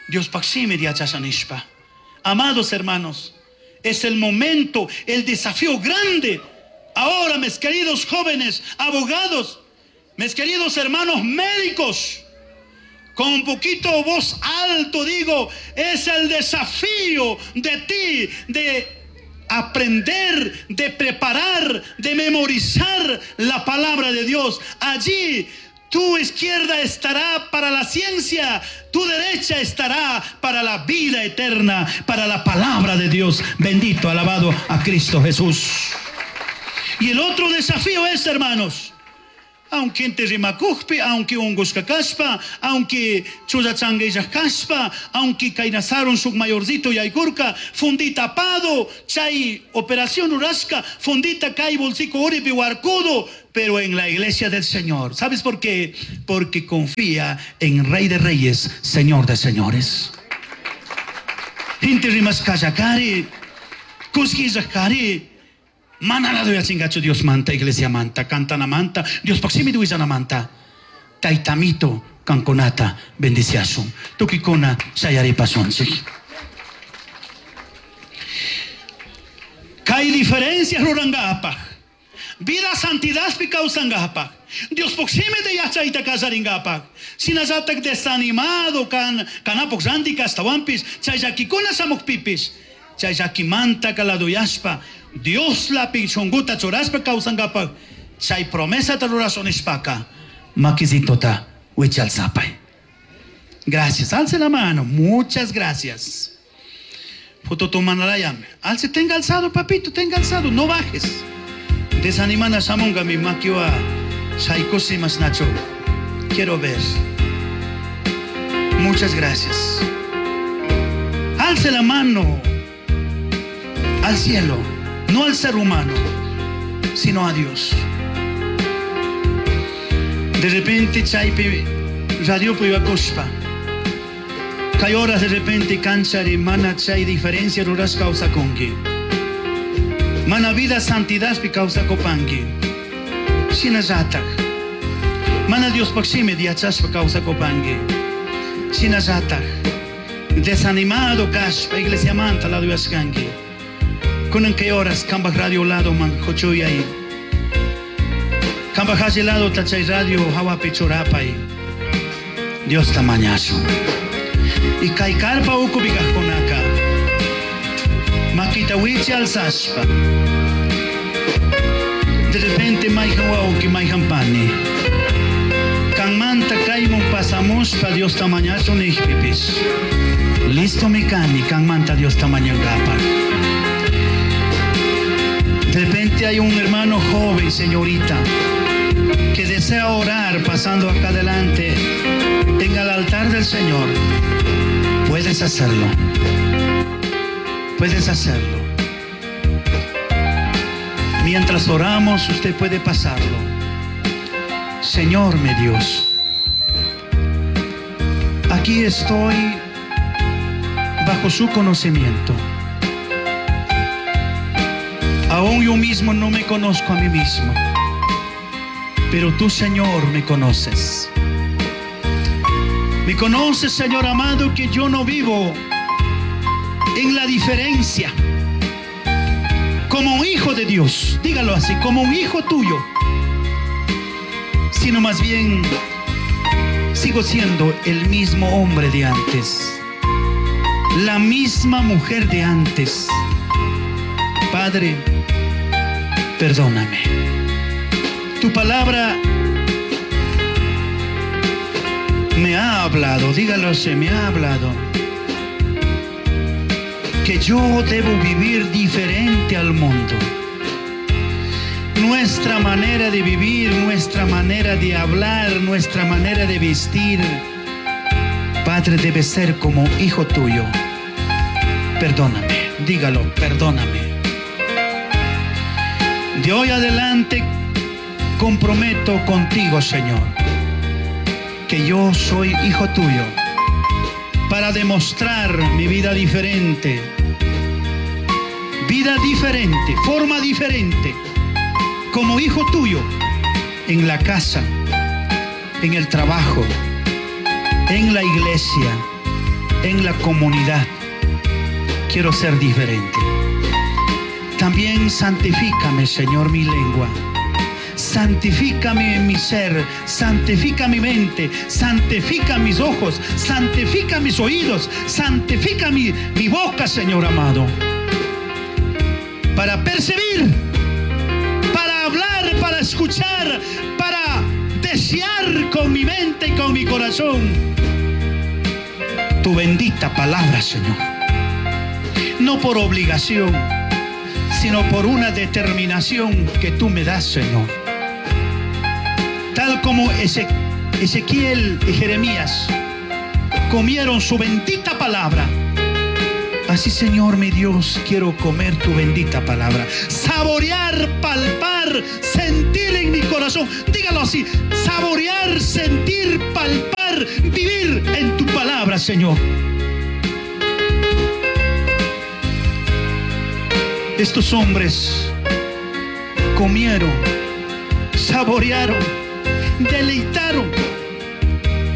Dios paximi diachasanishpa. Amados hermanos, es el momento, el desafío grande. Ahora, mis queridos jóvenes, abogados, mis queridos hermanos médicos, con un poquito voz alto digo, es el desafío de ti de aprender, de preparar, de memorizar la palabra de Dios. Allí tu izquierda estará para la ciencia, tu derecha estará para la vida eterna, para la palabra de Dios. Bendito, alabado a Cristo Jesús. Y el otro desafío es, hermanos, aunque inti rimakukpi, aunque ungushka kashpa, aunque chullachanguillaj kashpa, aunque kaynasarun shuk mayorcito yaykurka, fundita apado, chay operación rurashka, fundita kay bolsico uripi warkudo, pero en la iglesia del Señor. ¿Sabes por qué? Porque confía en Rey de Reyes, Señor de Señores. Inti rimashkallakari, kushkillakari, manalado ya chingacho Dios manta, iglesia manta, cantana manta, Dios paximi duizana manta. Taitamito kankonata bendiciasun. Tukikuna shayaripashunchik. Kay diferencias rurangapaj. Vida santidadpi kawsangapaj. Dios poxime de yachayta kasaringapaj. Sinallatak desanimado kan kanapoj ranti kastawampis, chay llakikuna shamuqpipis, chay llakimanta kaladoyashpa, Dios la shunguta churashpa kawsangapaj, chay promesata rurashunishpaka, makisitota wichalsapay. Gracias, alce la mano, muchas gracias. Foto tomanarayam. Alce, tenga alzado, papito, tenga alzado, no bajes. Desanimana shamunga mi makiwa shaykusimas nacho. Quiero ver. Muchas gracias. Alce la mano al cielo, no al ser humano, sino a Dios. De repente chaypi radio kushpa. Kay horas de repente kanchari mana chay diferencia ruras kawsakunki. Mana vida santidad pi kawsakupanki. Shinallatak. Mana Dios shimi yachashpa kawsakupanki. Shinallatak. Desanimado kashpa iglesia manta lado yashkanki. Kunan kay horas kambaj radio lado man huchuyay. Kambaj alli lado tachay radio hawapi churapay. Dios tamañazo. Y kay carpa ukupi kajkunaka. Makita wichi alzashpa. De repente mayhan wawki mayhan pani. Kanmanta kaymun pasamushpa Dios tamañazo nijpipis. Listo mi kani kanmanta Dios tamañangapaj. De repente hay un hermano joven, señorita, que desea orar pasando acá adelante en el altar del Señor. Puedes hacerlo. Puedes hacerlo. Mientras oramos, usted puede pasarlo. Señor mi Dios, aquí estoy bajo su conocimiento. Aún yo mismo no me conozco a mí mismo, pero tú, Señor, me conoces. Me conoces, Señor amado, que yo no vivo en la diferencia. Como un hijo de Dios, dígalo así, como un hijo tuyo, sino más bien sigo siendo el mismo hombre de antes, la misma mujer de antes. Padre, perdóname. Tu palabra me ha hablado, dígalo así, me ha hablado, que yo debo vivir diferente al mundo. Nuestra manera de vivir, nuestra manera de hablar, nuestra manera de vestir, Padre, debe ser como hijo tuyo. Perdóname, dígalo, perdóname. De hoy adelante comprometo contigo, Señor, que yo soy hijo tuyo, para demostrar mi vida diferente, vida diferente, forma diferente, como hijo tuyo, en la casa, en el trabajo, en la iglesia, en la comunidad. Quiero ser diferente. También santifícame, Señor, mi lengua. Santifícame mi ser, santifica mi mente, santifica mis ojos, santifica mis oídos, santifica mi, mi boca, Señor amado. Para percibir, para hablar, para escuchar, para desear con mi mente y con mi corazón tu bendita palabra, Señor. No por obligación, sino por una determinación que tú me das, Señor. Tal como Ezequiel y Jeremías comieron su bendita palabra, así, Señor mi Dios, quiero comer tu bendita palabra. Saborear, palpar, sentir en mi corazón. Dígalo así, saborear, sentir, palpar, vivir en tu palabra, Señor. Estos hombres comieron, saborearon, deleitaron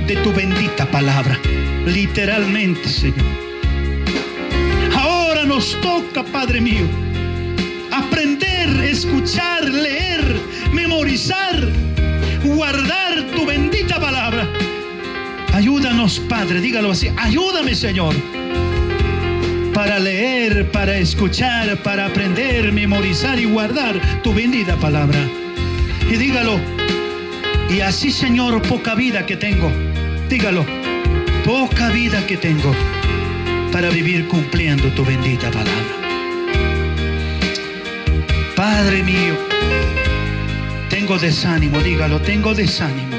de tu bendita palabra, literalmente, Señor. Ahora nos toca, Padre mío, aprender, escuchar, leer, memorizar, guardar tu bendita palabra. Ayúdanos, Padre, dígalo así, ayúdame, Señor, para leer, para escuchar, para aprender, memorizar y guardar tu bendita palabra. Y dígalo, y así, Señor, poca vida que tengo, dígalo, poca vida que tengo, para vivir cumpliendo tu bendita palabra. Padre mío, tengo desánimo, dígalo, tengo desánimo.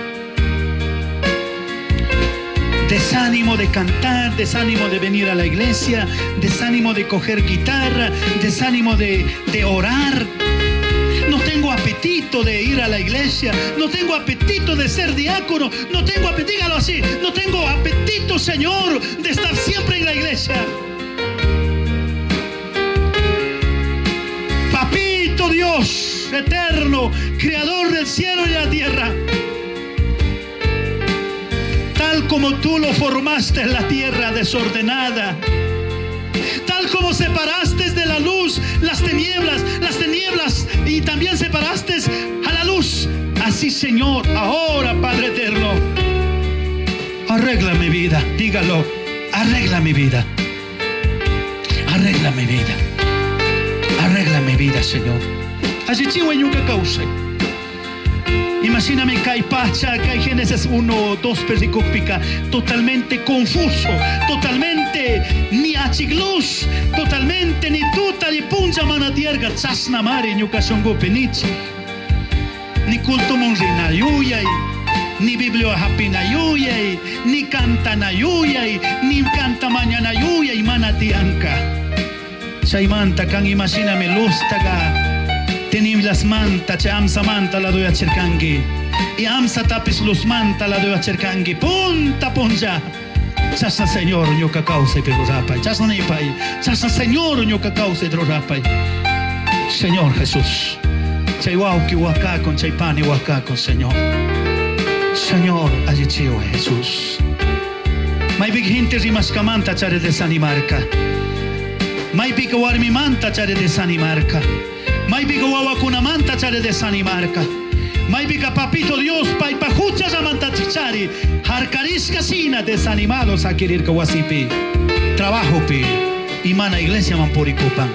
Desánimo de cantar, desánimo de venir a la iglesia, desánimo de coger guitarra, desánimo de, de orar. No tengo apetito de ir a la iglesia, no tengo apetito de ser diácono, no tengo apetito, dígalo así, no tengo apetito, Señor, de estar siempre en la iglesia. Papito Dios eterno, creador del cielo y la tierra, tal como tú lo formaste en la tierra desordenada, tal como separaste de la luz las tinieblas, las tinieblas, y también separaste a la luz, así, Señor, ahora, Padre eterno, arregla mi vida, dígalo, arregla mi vida, arregla mi vida, arregla mi vida, Señor. Así chihueñuca causa. Imagíname kai pacha, kai Génesis uno, dos pericópica, totalmente confuso, totalmente ni achigluz, totalmente ni tuta ni punja manatierga, chasna mari ñuka shungupi nichi. Ni culto monrina yuyay, ni biblio hapina yuyay, ni cantana yuyay, ni canta mañana yuyay manatianka. Chaymanta kan imagíname luztaga. Teniblas manta, che amsa manta la doy a. Y amsa tapis luz manta la doy a cherkangi. Punta punja. Chasna Señor ñuka causa y pedrorapay. Chasna nipay. Chasna Señor ñuka causa y pedrorapay. Señor Jesús. Chay wauki con chay pani con Señor. Señor, allichiwa Jesús. May gente rimaskamanta chare desanimarka. May big warmimanta chare desanimarka. Maypika wawakunamanta chare desanimarka. Maypika papito Dios paypa huchallamanta chari. Harkarishka sina desanimados a querer wasipi. Trabajo pi. Imana iglesia mampurikupan.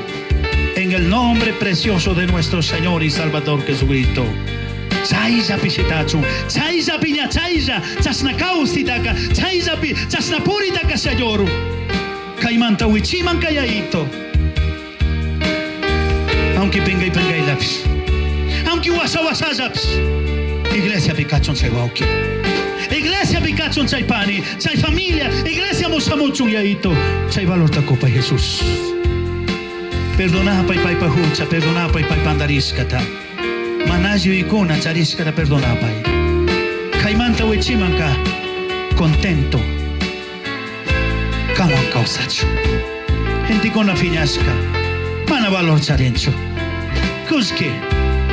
En el nombre precioso de nuestro Señor y Salvador Jesucristo. Chaylla pishitachun, chaylla piña chaylla, chasna kausitaka, chaylla pi, chasna puritaka Señor. Kaymanta wichiman kayaito. Aunque penga y penga y lápiz, aunque wasa wasa lápiz, iglesia pikachon chay wauki, iglesia pikachon chay pani, chay familia, iglesia mosamuchun yaito, chay valor takopa Jesús. Perdona pay pay pajucha, perdona pay pay pandarishkata, manayo ikuna charishkata perdona pay. Kaymanta wichimanka, contento, kawan kausachu, gente con la fiñasca, mana valor charincho. Kuski,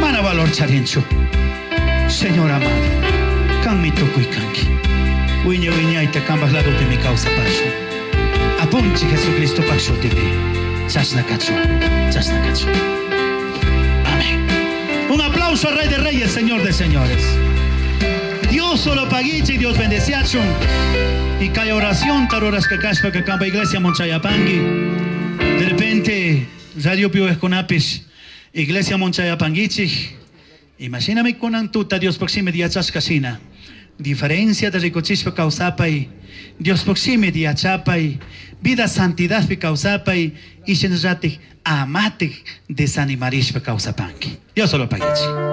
mana valor charincho. Señor amado, kan mi tukuy kanki. Wiña wiñayta kambas lado de mi causa paso. Apunchi Jesucristo paso tipi. Chasna kacho, chasna kacho. Amén. Un aplauso al Rey de Reyes, Señor de Señores. Dios solo paguiche y Dios bendeciachun. Y kay oración taroras que kaspa que kamba iglesia monchayapangi. De repente, Radio Pio Esconapis, Iglesia Monchayapanguichi, imagíname con antuta Dios proxime diachascasina. Diferencia de ricochispa causapay, Dios proxime diachapay, vida santidad pi causapay, y shenrati amate desanimarispa causapanqui. Dios solo paguichi.